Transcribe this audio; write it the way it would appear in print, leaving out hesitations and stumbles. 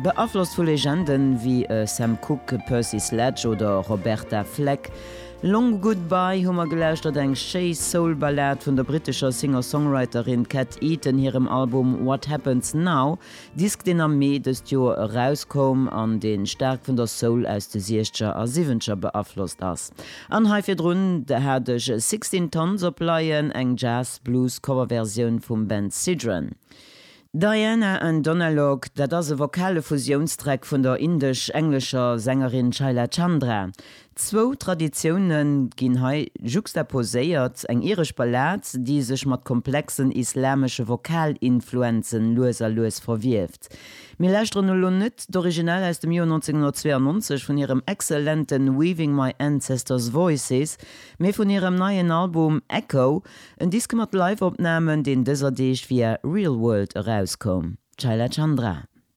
Beaflosst vu Legenden wéi Sam Cooke, Percy Sledge oder Roberta Flack. Long Goodbye hu mer gelauschtert, eng schéi Soul-Ballad vun der brittescher Singer-Songwriterin Kat Eaton hirem Album What Happens Now, Disk deen am Mee dëst Joer erauskoum an dee staark vun der Soul aus de Siechzeger a Siwwenzeger beaflosst ass. An hei virdrun hat ech Sixteen Tons op Leien, eng Jazz-Blues-Coverversioun vum Ben Sidran. Diana and Donalog, dat ass e vokale Fusiounstrack vun der indesch-englescher Sängerin Shaila Chandra. Zwou Traditioune ginn hei juxtaposéiert, eng iresch Ballad, déi sech mat komplexen islamesche Vokalinfluenzen lues a lues verwieft. Mir lauschteren elo net d'Original aus dem Joer 1992 vun hirem exzellente Weaving My Ancestors' Voices, mee vun hirem neien Album Echo, En Disk mat Live-Opnamen, deen dëser Deeg via Real World erauskoum. Shaila Chandra.